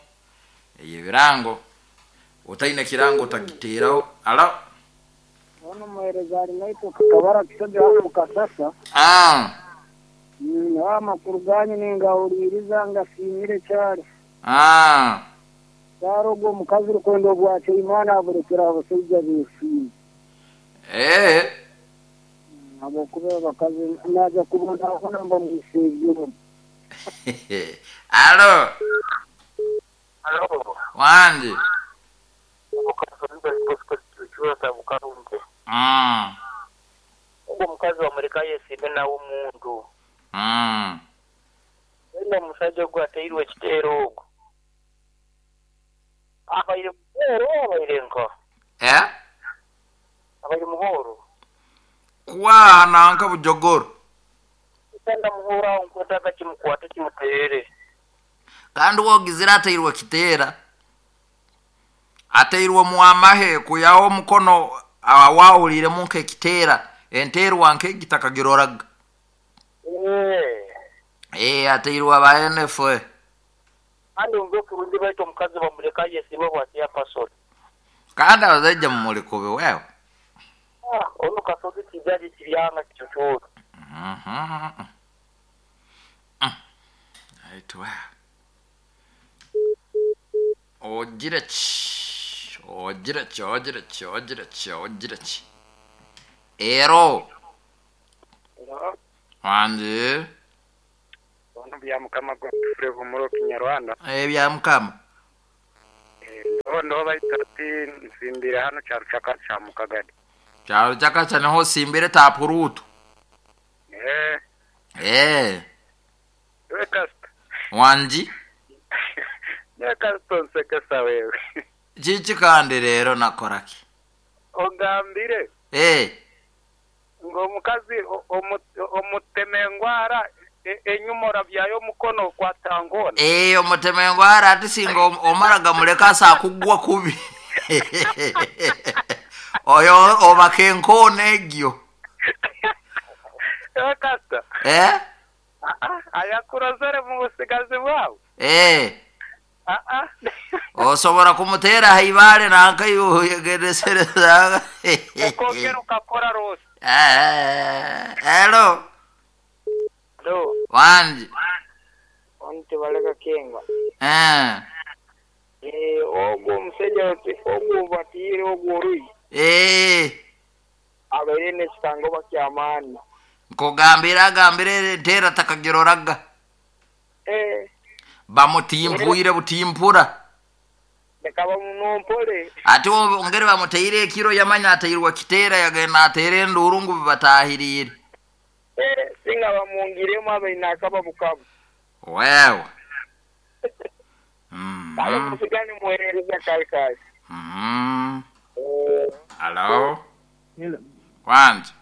eyebirango otaine kirango otagiteeraho. Alo. Ono muhereza ari naitwe kakabara kisobe hano mukasasa. Ah. Mm, amakuru ganyu ningahuririza ngasimire cyane. Ah. Cyaro ogwo mukazi rukwenda obwakyo Imana aburekera abasajja besiime. Eh. Ahabwokuba abakazi naja kubonabona mba mwisegero. Alo. Halo. Wanje. Mm. Ogwo mukazi wamureka yesiime nawe omuntu. Mm. Wenda omusajja ogwo ateirwe ekiteero ogwo. Abaire muhoro abaire nka. Eh? Abaire muhoro. Kwa nanka bujogoro. Kanda muhoro aho nkwetaaga kimukwate kimuteere. Kandi wogizira ateirwe kiteera. Ateirwe muamahe kuyaho omukono awawuliremu nk'ekiteera enteerwa nk'egitakagiroraga. Eh. Eh, ateirwe aba N F A. Kandi ombe kurungi baitu omukazi bamureka yesiime bwatiya pasori. Kandi abasajja mumulikobe wewe. Ah, ono kasozi kijaji kiryanga kikyokyo. Mhm. Mm. Aitwa. Ogira ki? Ogira ki? Ogira ki? Ogira ki? Ogira ki? Ero. Wanje. Bya mukama Godfrey Bumuro Kinyarwanda. Eh bya mukama. Eh ndo baita ati nsimbire hano cyarucaka cya mukagadi. Cyarucaka cyane ho simbire tapurutu. Eh. Eh. We kasta. Wanji. Ne kasta nsekesa wewe. Chichi kandi rero nakoraki. Ogambire. Eh. Ngo omukazi omutemengwara enyumora byayo mukono kwa tangona. Eh omutemengwara ati singa omaraga muleka sa kugwa kubi. Oyo obakenkone egyo. Eh kasta. Eh? Ayakurozere mu busigazi bwawe. Eh. Ah ah. Osobora kumutera haibale nanka yugeresereza. Ukongera ukakora rose. Eh, hello. Hello. Wanji. Wanti baleka kenga. Eh. Eh, ogwo omusajja ogwo batire ogwo ruyi. Eh. Abaire nekitango bakyamaani. Nkugambira agambire tera takagiroraga. Eh. Bamutimpuire butimpura. Bakaba munompole. Ate ongere bamuteire ekiro yamanya ateirwa kitera yagenda atere enduru ngu bibatahirire. Eh, singa bamwongiremu abaine akaba bukabu. Wewe. Mm. Kale musigane muherereza kale kale. Mm. Hello. Hello. Wanji.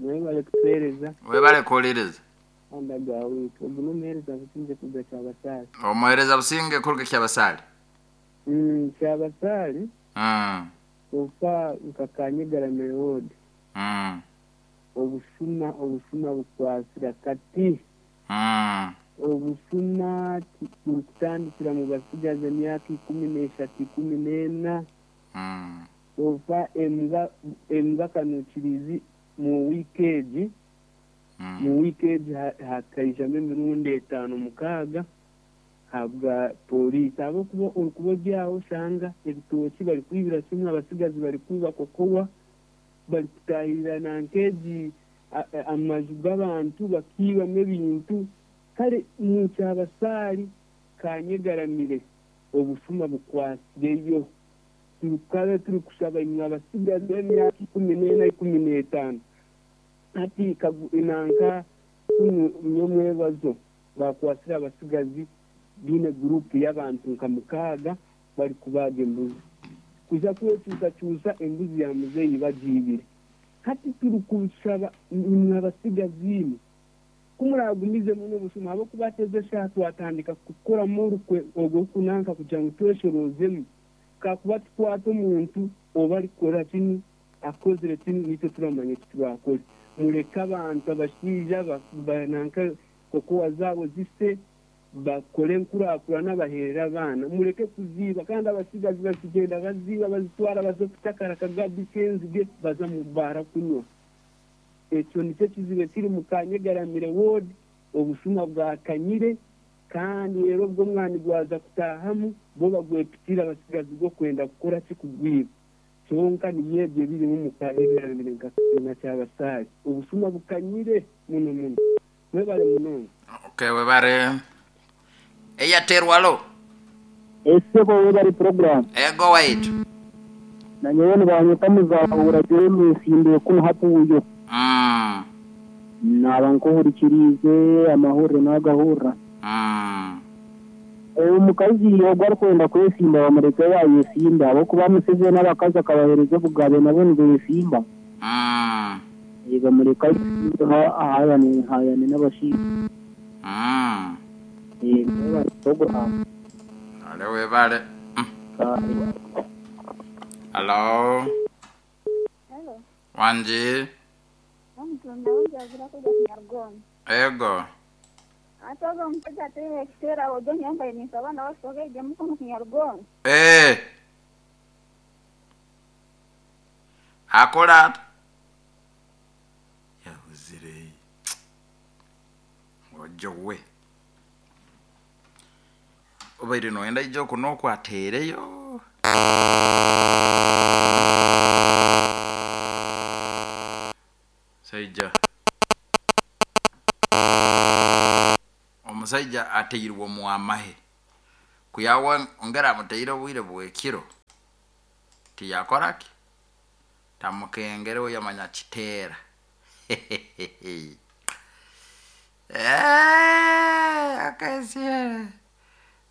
Mwebale kutuhereza. Webale kuhuliriza. Andagawe. Ogu n'omuhereza Businge kuruga Kyabasaali. Omuhereza Businge kuruga Kyabasaali. Mm, Kyabasaali. Mm. Ofa nkakanyegaramire ward. Mm. Obusuma obusuma bukwasira kati. Mm. Obusuma burikutandikira mu basigazi emyaka ikumi n'eshatu ikumi n'ena. Mm. Ofa embwa embwa kanukirizi mu wiikeegi. Mm. Mu wiikeegi hakaijamu emirundi etaano mukaaga habwa polisi ahabwokuba orikuba ori aho oshanga ebitooki barikwibira kimwe abasigazi barikwiba kokowa barikutahirira nankeegi amaju g'abantu bakiibamu ebintu kare mu Kyabasaali kanyegaramire obusuma bukwasireyo turikaba turikushaba imwe abasigazi b'emyaka ikumi n'ena ikumi n'etaano hati nanka nyomwebazo bakwasire abasigazi biine gurupu y'abantu nka mukaaga barikubaga embuzi kuja kwekyusakyusa embuzi ya muzeeyi bagiibire hati turikushaba imwe abasigazi imwe kumuragumizemu n'obusuma ahabwokuba ateze eshaaha twatandika kukoramu orukwe ogwo kunanka kugira ngu tweshorozemu kakuba tukwata omuntu oba arikukora kinu akozire kinu nitwe turamanya eki turakore mureke abantu abashaija nanka kokowa zaabo zise bakore enkurakurana baherera abaana mureke kuziiba kandi abasigazi bakigenda baziiba bazitwara baza kutakara akagabi k'enzige baza mu baara kunywa ekyo nikyo kizibu ekiri mu Kanyegaramire ward obusuma bwakanyire kandi rero obwo omwani gwaza kutahamu bo bagwepitira abasigazi b'okwenda kukora ki kugwiba kyonka niyo ebyo ebirimu mu Kanyegaramire nka kibiina Kyabasaali obusuma bukanyire muno muno mwebale munonga. Okay, webale. Eyaterwalo. Esebo webale program. Ego waitu. Na nyowe nibanyeta muzahura Jeremy nsimbiye kuno hapuyo. Mm. Naba nkuhurikirize amahurire n'agahurra. Mm. Omukazi ogwo arikwenda kwesimba bamureke yayesimba ahabwokuba Museveni n'abakazi akabahereza obugabe nabo nibeesimba. Mm. Bamureka ahayane hayane n'abashaija. Mm. Eh, webale program. Ale webale. Mm. Hello. Hello. Wanji. Ego. Atoga omusajja ateera ekiteera ojo nyambaire ninsaba nawe ejemu Kinyarwanda. Eh. Akola ata? Yahuzire. Ojo we. Obaire noyenda ijo kuno okwateereyo. Saija. Omusaija ateirwe omu amahe kuyawa ongera amuteire obwire bwekiro tiyakoraki tamukengere yamanya kiteera. Eh, akaesiere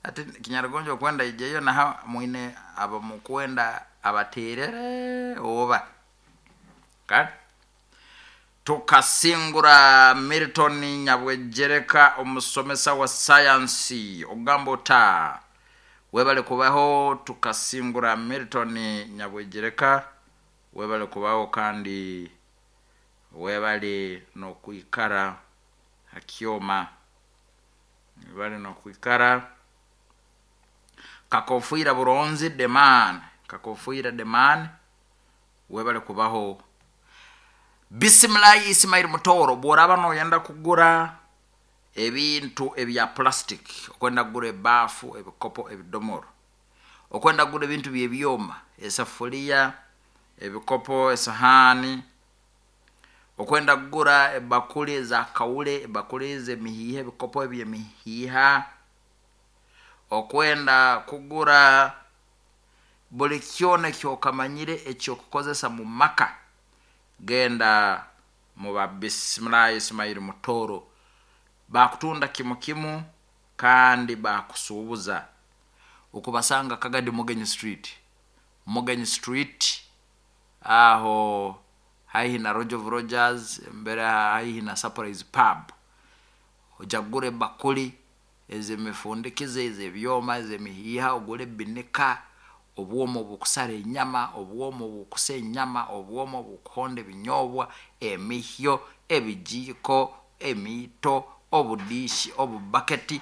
ati kinyarugonjo okwenda ijeyo naha mwine abamukwenda abaterere oba kale. Tukasingura Milton Nyabwejereka, omusomesa wa sayansi ogamba ota webale kubaho. Tukasingura Milton Nyabwejereka, webale kubaho kandi webale nokwikara hakyoma, webale nokwikara. Kakofuira buronzi deman, kakofuira deman, webale kubaho. Bisimilayi Ismail Mutoro, bworaba noyenda kugura ebintu ebya plastic, okwenda kugura ebafu, ebikopo, ebidomoro, okwenda kugura ebintu byebyoma, esafuria, ebikopo, esahani, okwenda kugura ebakuli za kaule, ebakuli z'emihiiha, ebikopo eby'emihiiha, okwenda kugura buli kyona ekyokamanyire ekyokukozesa mu maka, genda muba Bisimilayi Ismail Mutoro. Bakutunda kimu kimu kandi bakusuubuza. Ukubasanga Kagadi Mugenyi Street, Mugenyi Street aho haihi na Roger of Rogers, mbere haihi na Surprise Pub. Ojagure bakuli ez'emifundikize, ez'ebyoma, ez'emihiiha, ogure binika, obwomo obukusara enyama, obwomo obukusa enyama, obwomo obukuhonda ebinyobwa, emihyo, ebijiiko, emiito, obudishi, obubaketi,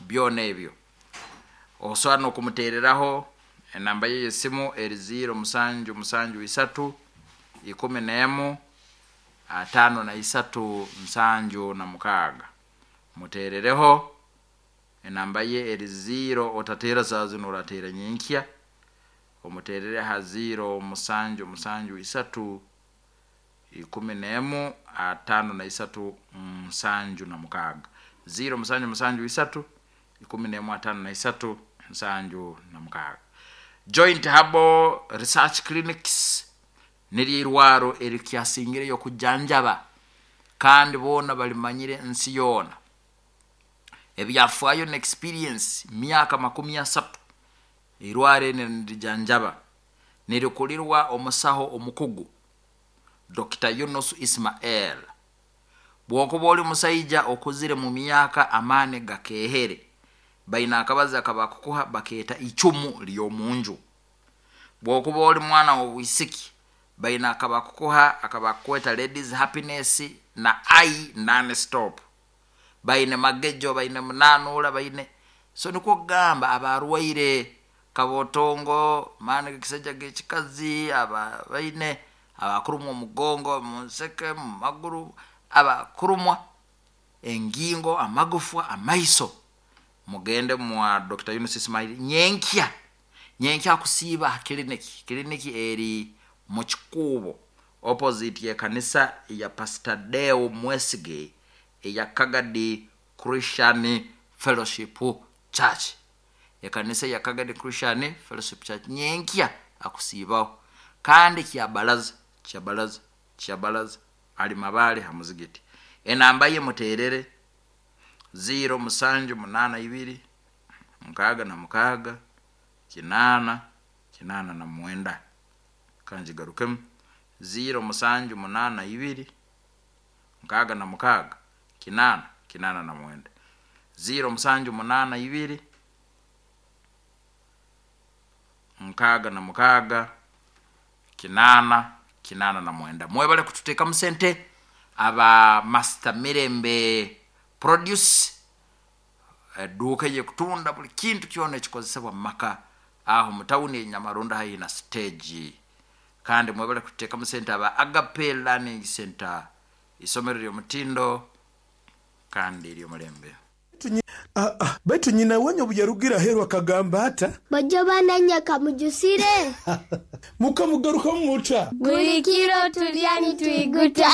byona ebyo. Osobola n'okumuteereraho enamba ye y'esimu eri ziro musanju musanju isatu ikumi n'emu atano na isatu nsanju na mukaaga. Muteerereho enamba ye eri ziro, otateera saa zino orateera nyenkya, omuteerere ha ziro musanju musanju isatu ikumi n'emu atano na isatu nsanju na mukaaga, ziro musanju musanju isatu ikumi n'emu atano na isatu nsanju na mukaaga. Joint Herbal Research Clinics niryo irwaro erikyasingireyo kujanjaba kandi boona balimanyire ensi yoona. Ebyafaayo na experience myaka makumi asatu irwaro eri nirijanjaba, nirikulirwa omusaho omukugu Doctor Yunus Ismael. Bwokuba oli musaija okuzire mu myaka amaani gakehere, baina akabazi akabakukuha bakeeta icumu ly'omunju. Bwokuba oli mwana w'obwisiki, baina akabakukuha akabakweta ladies happiness na I non stop. Baine magejo, baine munanura, baine so nikwo kugamba abarwaire kabotongo, maani g'ekisajja g'ekikazi, aba baine abakurumwa omugongo, mu nseke, mu maguru, abakurumwa engingo, amagufwa, amaiso, mugende mwa Doctor Yunus Ismail nyenkya. Nyenkya akusiiba ha kiliniki. Kiliniki eri mu Kikuubo opposite y'ekanisa ya Pastor Deo Mwesige eya Kagadi Christian Fellowship Church. Ekanisa ya Kagadi Christian Fellowship Church nyenkya akusiibaho. Kandi kyabalaza, kyabalaza, kyabalaza ali mabale ha muzigiti. Enamba ye muteerere ziro musanju munana ibiri mukaaga na mukaaga kinaana kinaana na mwenda. Kanjigarukemu ziro musanju munana ibiri mukaaga na mukaaga kinaana kinaana na mwenda, ziro musanju munana ibiri mukaaga na mukaaga kinaana kinaana na mwenda. Mwebale kututeekamu sente aba Master Mirembe Produce, eduuka eyekutunda buli kintu kyona ekikozesebwa mu maka aho mu tawuni Enyamarunda haihi na stage. Kandi mwebale kututeekamu sente aba Agape Learning Center, isomero ly'omutindo kandi ery'omulembe. Ah, ah, baitu nyina wanyu obu yarugira aheeru akagamba ata? Bojo bananya kamujusire. Mukamugarukamu muta? Buli kiro tulya nitwiguta.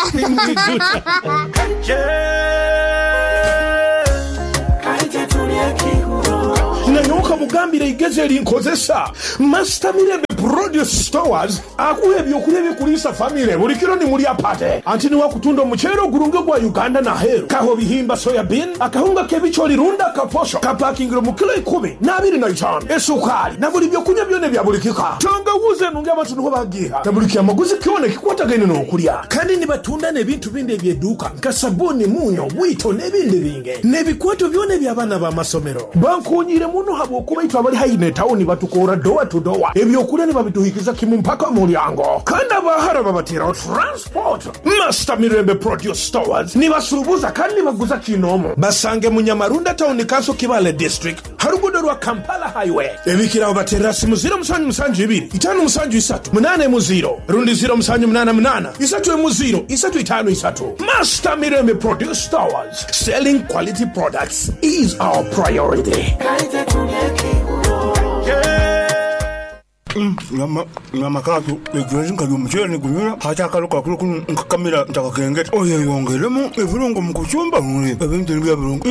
Nanyoka mugambire igezi erinkozesa Master Mirembe Produce Stores akuha ebyokulya ebikuliisa famire buli kiro nimulya pate anti niwakutunda omuceere ogurungi gwa Uganda naheru kaho bihimba soya bean akahunga k'ebikyoli runda kaposho kapakingire mu kilo ikumi n'abiri na itaano esukali na buli byokunywa byona ebya buli kika tangawuzi enungi abantu niho bagiha na buli kyamaguzi kyona ekikwatagaine n'okulya kandi nibatunda n'ebintu bindi ebyeduuka nka sabuni munyo bwito n'ebindi binge n'ebikwato byona eby'abaana b'amasomero bankunyire muno habwokuba itwe abali haihi n'etawuni batukora dowa to dowa ebyokulya nibabituhikiza kimu mpaka mulyango kandi abahara babateraho transport. Master Mirembe Produce Stores nibasuubuza kandi nibaguza kinomo basange Munyamarunda Town Council Kibale District harugudo rwa Kampala Highway ebikiraho baterera simu ziro musanju musanju ibiri itano musanju isatu munane mu ziro rundi ziro musanju munana munana isatu emu ziro isatu itano isatu. Master Mirembe Produce Stores, selling quality products is our priority. Nyama katu egwezi nkali omuceere negunyura hati akaluka kulu kunu nkakamira ntakakengeta oyeyongeremu ebirungo mu kucumba ebintu nibya birungo.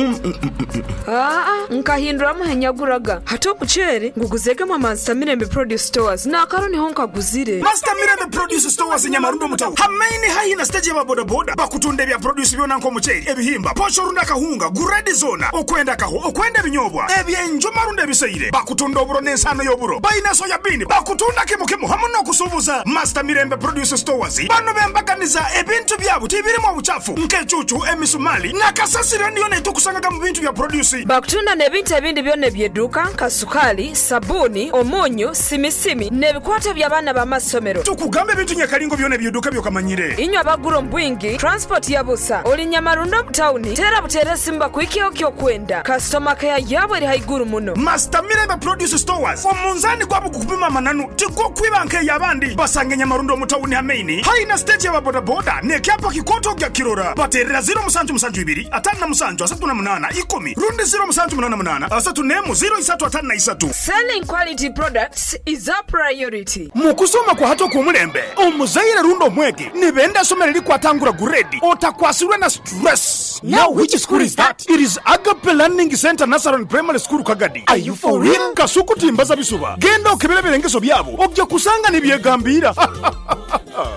Aa, nkahinduramu henyaguraga hati omuceere nguguzegemu Master Mirembe Produce Stores nakaro niho nkaguzire. Master Mirembe Produce Stores Nyamarundo mutawu hamaini haihi na stage ya bodaboda bakutunda ebya produce byona nk'omuceere ebihimba posho runda kahunga guredi zona okwenda kaho okwenda ebinyobwa ebyenjuma runda ebiseire bakutunda oburo n'ensano y'oburo bayina soya bean bakutunda kimu kimu hamu n'okusuubuza. Master Mirembe Produce Stores bano bembaganiza ebintu byabo tibirimu obuchafu nk'ecucu emisumali nakasasiro niyo netukusangaga mu bintu bya produce. Bakutunda n'ebintu ebindi byona ebyeduuka nka sukali sabuni omunyu simisimi n'ebikwato by'abaana b'amasomero. Tukugambe ebintu nyakalingo byona ebyeduuka byokamanyire inywe abagura ombwingi transport ya busa oli Nyamarundo mutawuni tera butere simba kuikio kyokwenda customer care yabo eri haiguru muno. Master Mirembe Produce Stores omunzani gwabo gukupima mananu tigokwiba nke yabandi basange Nyamarundo mutawuni hamaini haina stage ya bodaboda nekyapa kikoto gya kirora baterera ziro musanju musanju ibiri atano na musanju asatu na munana ikumi rundi ziro musanju munana munana asatu nemu ziro isatu atano na isatu. Selling quality products is a priority. Mukusoma kwa hato kumulembe omuzaire rundo mwege nibenda somero likwatangura guredi otakwasirwe na stress. Now which school is that? It is Agape Learning Center Nursery Primary School Kagadi. Are you for real? Kasuku timbaza bisuba genda okebera ebirengeso byabo ojja kusanga nibyegambira.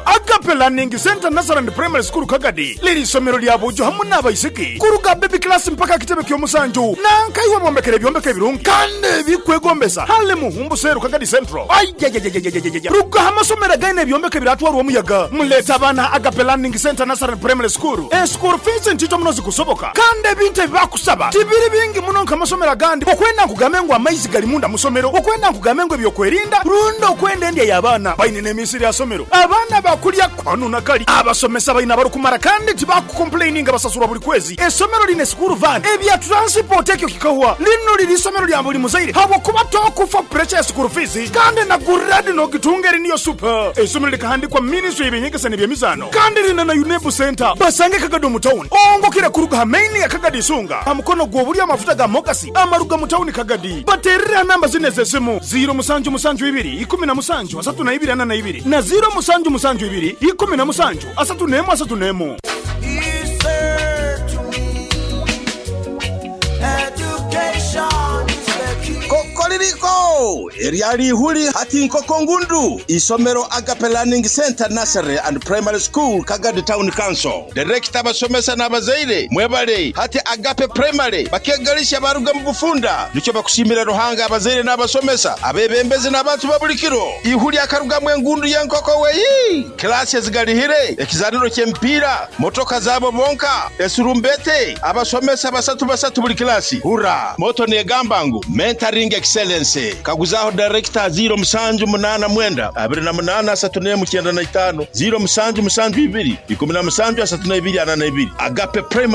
Agape Learning Center Nursery Primary School Kagadi liri isomero lya bujo hamu n'abaisiki kuruga baby class mpaka kitebe ky'omusanju nankaiwe bombekere ebyombeko ebirungi kandi ebikwegombesa hale muhumbu seru Kagadi Central. Ayayayayayayaya ruga amasomero againe ebyombeko ebiratwarwa omuyaga muleta abaana Agape Learning Center Nursery Primary School. E school fees ntito muno zikusoboka kandi ebintu ebibakusaba tibiri bingi muno nk'amasomero agandi okwenda nkugambe ngu amaizi gali munda musomero okwenda nkugambe ngu ebyokwerinda rundi okwenda endya y'abaana baine n'emisiri ya somero abaana bakulya kwanu nakali abasomesa baina barukumara kandi tibakukomplaininga basasurwa buli kwezi. Esomero line school van ebya transport ekyo kikahwa lino liri isomero lya buli muzaire habwokuba tokufa pressure ya school fees kandi na guradi nogitunga eri niyo super. Esomero likahandikwa ministry y'ebyenyegesa n'ebyemizaano kandi lina na UNEB center basange Kagadi mu town ongokera kuruga hamaini ya Kagadi Isunga amukono gw'obuli amafuta ga mogasi amaruga mu town Kagadi baterera namba zine z'esimu ziro musanju musanju ibiri ikumi na musanju asatu na ibiri ana na ibiri na ziro musanju musanju ibiri ikumi na musanju asatu nemu asatu nemu. Kokoliriko eryali ihuli hati nkoko ngundu isomero Agape Learning Center Nursery and Primary School Kagadi Town Council Director abasomesa n'abazaire mwebale hati Agape Primary bakegalisha baruga mu bufunda nicyo bakushimira Ruhanga abazaire n'abasomesa abebembezi n'abantu babulikiro ihuli akarugamwe engundu y'enkoko weyi klasi ezigalihire ekizaniro ky'empira motoka zabo bonka esurumbete abasomesa basatu basatu buli klasi hura moto negamba ngu mentoring excellence kaguzaho director ziro musanju munana mwenda abiri na munana asatu nemu kyenda na itano ziro musanju musanju ibiri ikumi na musanju asatu na ibiri ana na ibiri Agape Primary.